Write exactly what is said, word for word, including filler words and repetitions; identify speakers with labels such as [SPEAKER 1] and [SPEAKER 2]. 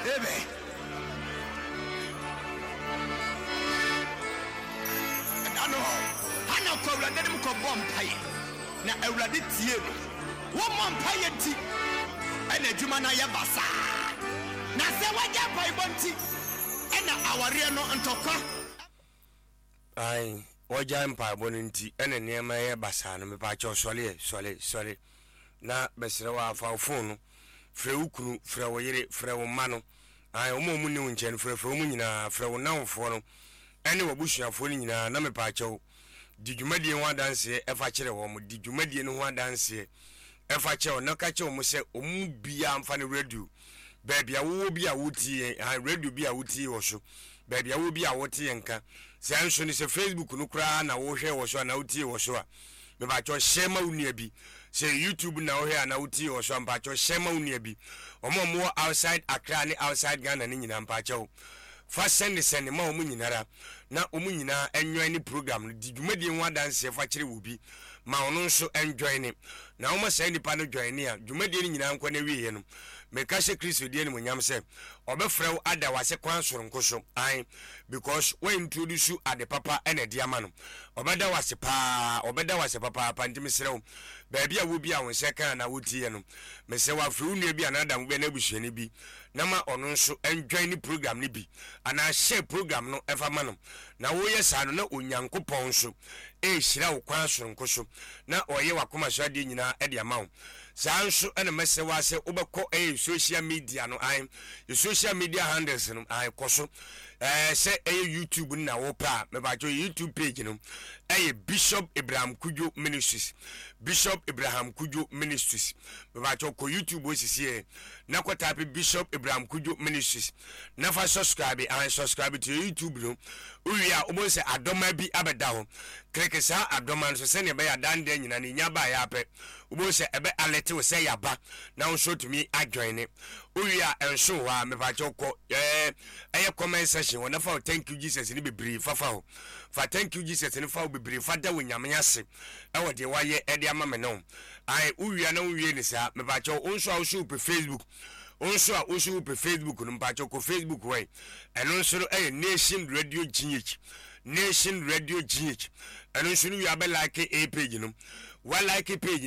[SPEAKER 1] Amen. Ɛda no, Hana kɔ Awurade anim kɔbɔ mpaeɛ, na Awurade tie no. Wommɔ mpaeɛ nti, ɛna adwuma no ayɛ basaa. Na sɛ woagya mpaebɔ nti, ɛna awareɛ no ntɔkwa.
[SPEAKER 2] Ae, wɔgyae mpaebɔ no nti ɛna nneɛma yɛ basaa no. Mepaakyɛw sɔre ɛ, sɔre, sɔre na bɛsrɛ wo ara, fa wo phone no frɛ wo kunu, frɛ wo yere, frɛ wo mma no, ae, wɔn a wɔn nni wo nkyɛn no, frɛfrɛ wɔn nyinaa, frɛ wo nnamfoɔ no ɛne w'abusuafoɔ no nyinaa na mepaakyɛw di dwumadie ho adanseɛ ɛfa kyerɛ wɔn, di dwumadie no ho adanseɛ ɛfa kyerɛ wɔn na ka kyerɛ wɔn sɛ wɔn mu biara mfa ne radio baabi a wowɔ bi a wotie yɛn ha, radio bi a wotie wɔ so, baabi a wowɔ bi a wote yɛn nka. Sɛ nso no sɛ Facebook no koraa na wohwɛ wɔ so anaa wotie wɔ so a, mepakyɛw hyɛ ma wo nua bi. Sɛ YouTube na wohwɛ anaa wotie wɔ so a, mepakyɛw hyɛ ma wo nua bi. Wɔn a wɔwɔ outside Accra ne outside Ghana no nyinaa, mepakyɛw fa sɛnde sɛnde ma wɔn nyinara na wɔn nyinaa enjoy ne program no. Di dwumadie ho adanseɛ fa kyerɛ wɔ bi ma ɔno nso enjoy ne. Na woma saa nipa no join ne a, dwumadie no nyinaa nkɔ n'awieɛ no, meka hyɛ Kristo din animuonyam sɛ ɔbɛfrɛ wo ada w'ase kwan soronko so. Ae, because wo introduce ade papa na ɛde ama no. Ɔbɛda wo ase paa, ɔbɛda wo ase papaapa. Nti mesrɛ wo, baabi a wɔ bi a wo nsa ka anaa wotie no, mesrɛ wo afrɛ wo nua bi anaa adamfo bi anaa abusuani bi na ma ɔno nso enjoy ne program no bi anaa share program no ɛfa ma no. Na woyɛ saa no na Onyankopɔn nso ɛrehyira wo kwan soronko so na ɔreyɛ w'akoma so adeɛ nyinaa de ama wo. Saa nso na mɛsrɛ wo ara sɛ wobɛkɔ ɛyɛ social media no, ae, social media handles no, ae, kɔ so. Ɛɛ sɛ ɛyɛ YouTube no na wopɛ a, mepakyɛw YouTube page no ɛyɛ Bishop Abraham Kudwo Ministries. Bishop Abraham Kudwo Ministries. Mepakyɛw kɔ YouTube hɔ sisi ɛ na kɔ type Bishop Abraham Kudwo Ministries na fa subscribe, ae, subscribe to your YouTube no. Wowie a wobɛhu sɛ adɔma bi abɛda hɔ. Kleke saa adɔma no so sɛnea ɛbɛyɛ a dan da nyinaa no nya baeɛ ara pɛ wobɛhu sɛ ɛbɛ alert wo sɛ yaba na wo nso atumi ajoine. Wowie a ɛnso hɔ a, mepakyɛw kɔ ɛɛ ɛyɛ comment section hɔ na fa wo thank you Jesus no bebree fa fa hɔ. Fa thank you Jesus no fa wo bebree fa da wo Nyame ase ɛwɔ deɛ wayɛ ɛde ama me ne wo. Ae, wowie a na wonwie ne saa, mepakyɛw wo nso a wo so wopɛ Facebook, wo nso a wo so wopɛ Facebook no, mepakyɛw kɔ Facebook hɔ ɛ. Ɛno nso no ɛyɛ Nation Radio G H. Nation Radio G H. Ɛno nso no wie a bɛ like a page no. Wa like page